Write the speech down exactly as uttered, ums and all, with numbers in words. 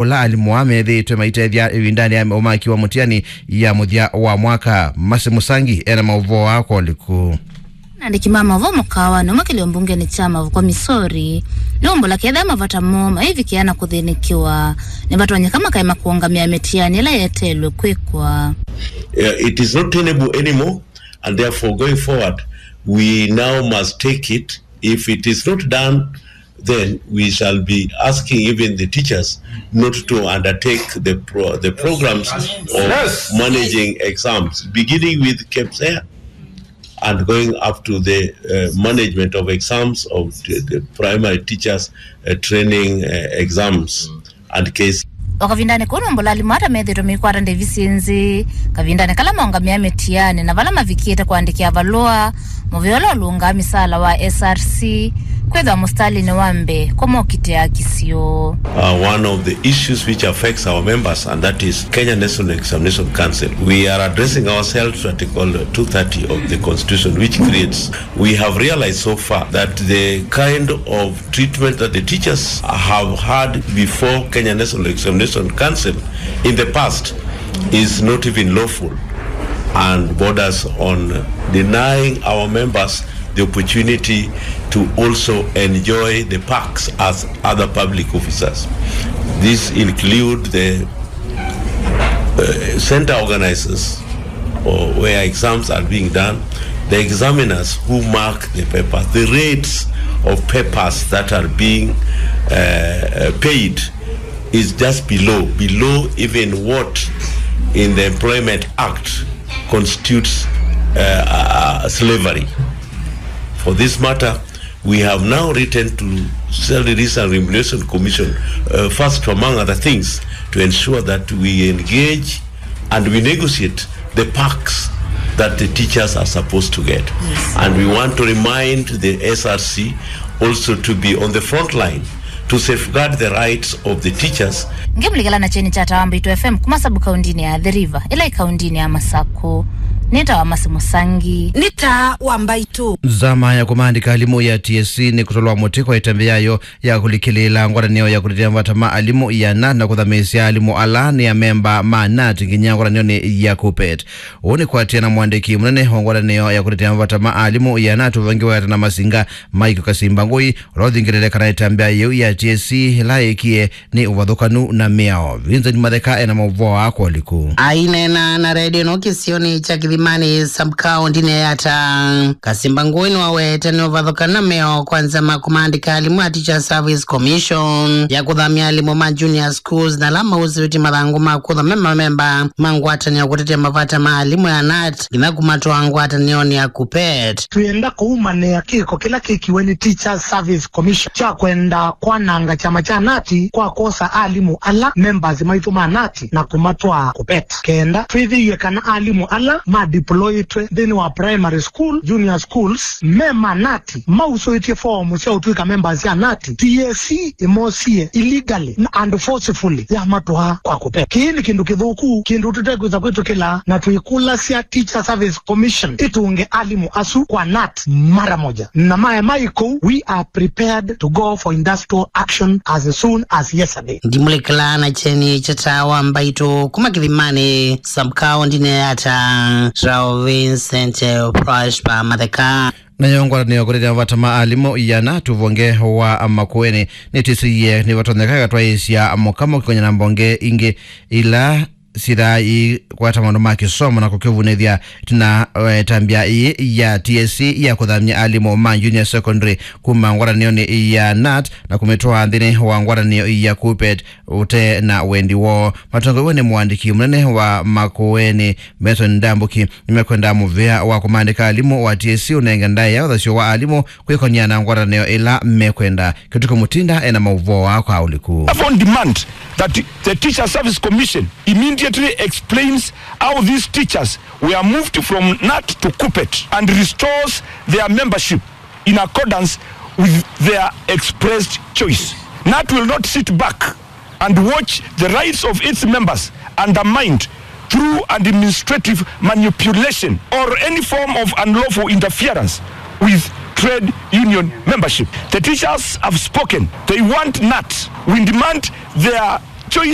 ũla alimũ aa methĩĩtwe maitethya ĩvindanĩ ya ũmaki wa mũtiani ya mũthya wa mwaka. Masi Mũsangi ena maũvoo aa kwa ũliku. Andĩki ma maũvoo mũkaawanĩ ũmwe kĩlĩo mbungeni kya Mavoko, Missouri, nĩwaumbũla kethĩa mavata moo maivikĩa na kũthĩnĩkĩwa, nĩvatonyeka makaema kũũngamĩa mĩtiani ĩla yeteelwe kwĩkwa. Uh, it is not tenable anymore, and therefore going forward, we now must take it. If it is not done, then we shall be asking even the teachers not to undertake the pro-, the programs of Yes. managing exams, beginning with KPSEA and going up to the uh, management of exams of the, the primary teachers uh, training uh, exams and case. O kavindanĩ kau, nũmbũla alimũ ata methĩĩtwe meikwata ndĩvi syĩ nzĩ kavindanĩ kala maũngamĩa mĩtiani na vala mavikĩte kũandĩkĩa valũa mũvea ũla ũlũngaa mĩsaala wa S R C kwĩthwa mũstalinĩ wa mbee kũmokitĩa kisio. Uh, one of the issues which affects our members, and that is Kenya National Examination Council. We are addressing ourselves to Article two thirty of the Constitution, which creates, we have realized so far that the kind of treatment that the teachers have had before Kenya National Examination Council in the past is not even lawful and borders on denying our members the opportunity to also enjoy the perks as other public officers. These include the uh, center organizers or where exams are being done, the examiners who mark the papers, the rates of papers that are being uh, uh, paid is just below, below even what in the Employment Act constitutes uh, uh, slavery. For this matter, we have now written to Salary Remuneration Commission, uh, first among other things, to ensure that we engage and we negotiate the perks that the teachers are supposed to get. Yes. And we want to remind the S R C also to be on the front line to safeguard the rights of the teachers. Ngĩmũlikĩla na kyeni kya Tawa Mbaitũ F M kuma sub kaundinĩ ya Athi River, ĩla ĩ kaundinĩ ya Masakũ. Nĩ Tawa Masi Mũsangi. Nĩ Tawa Mbaitũ. Nzama ya kũmaandĩka alimũ ya T S C nĩ kũtolwa mũtĩ kwa ĩtambya yayo ya kũlikĩlĩĩla ngwatanĩo ya kũtetea mavata ma alimũ ya nat na kũthamĩĩsya alimũ ala nĩ amemba ma nat nginya ngwatanĩonĩ ya KUPPET. Ũu nĩ kũatĩĩa na mũandĩki mũnene wa ngwatanĩo ya kũtetea mavata ma alimũ ya nat ũvangi wa Gatana Masinga Mike Kasimba Ngũi, ũla ũthingĩlĩte kana ĩtambya yĩu ya T S C ĩla yĩkie nĩ ũvathũkanu na mĩao. Vincent Matheka ena maũvoo aa kwa ũliku. Aineena na redio ĩno kĩsionĩ kya Kĩthimanĩ sub-kaũndinĩ ya Yatta, Kasimba Ngũi nĩwaweta nĩ ũvathũkanu na mĩao kwa nzama kũmaandĩka alimũ a Teacher Service Commission ya kũthamya alimũ ma junior schools na ala mausĩtye mathangũ ma kũthwa me mamemba ma ngwatanĩo kũtetea mavata ma alimũ ya nat nginya kũmatwaa ngwatanĩonĩ ya KUPPET. Twĩenda kũumanĩa kĩko kĩla kĩkiwe nĩ Teachers Service Commission kya kwenda kwananga kyama kya nat kwa kwosa alimũ ala members maitũ ma nat na kũmatwaa KUPPET. Kenda twĩthĩe kana alimũ ala ma deployĩtwe nthĩnĩ wa primary school, junior schools, me ma nat, mausũĩtye foomu sya ũtw'ĩka members sya nat, T S C ĩmosie illegally and forcefully yamatwaa kwa KUPPET. Kĩĩ nĩ kĩndũ kĩthũku, kĩndũ tũtekwĩsa kwĩtĩkĩla, na twĩkũlasya Teacher Service Commission ĩtũnge alimũ asu kwa nat mara moja. Na maema ĩkũu, we are prepared to go for industrial action as soon as yesterday. Ndimũlikĩla na kyeni kya Tawa Mbaitũ kuma Kĩthimanĩ sub-kaũndinĩ ya Yatta, Vincent Prosper Matheka. Nayo ngwatanĩo kũtetea mavata ma alimũ ya nat ũvonge wa Makueni nĩtĩsĩie nĩvatonyeka ĩkatwaĩĩsya mũkamo kũkony'a na mbonge ingĩ ila syĩthaa iikwata maũndũ ma kĩsomo na kũkĩvunĩthya ĩtina wa ĩtambya ĩĩ ya T S C ya kũthamya alimũ ma junior secondary kuma ngwatanĩonĩ ya nat na kũmĩtwaa nthĩnĩ wa ngwatanĩo ya KUPPET ũte na wendi woo. Matongoew'e nĩ mũandĩki mũnene wa Makueni, Benson Ndambuki, nĩmekwenda mũvea wa kũmaandĩka alimũ wa T S C ũnenge ndaĩa ũthasyo wa alimũ kwĩkony'a na ngwatanĩo ĩla mekwenda. Kĩtuko Mutinda ena maũvoo aa kwa ũliku. Therefore demand that the Teacher Service Commission immediately explains how these teachers were moved from nat to KUPPET and restores their membership in accordance with their expressed choice. nat will not sit back and watch the rights of its members undermined through administrative manipulation or any form of unlawful interference with trade union membership. The teachers have spoken. They want nat. We demand their Choice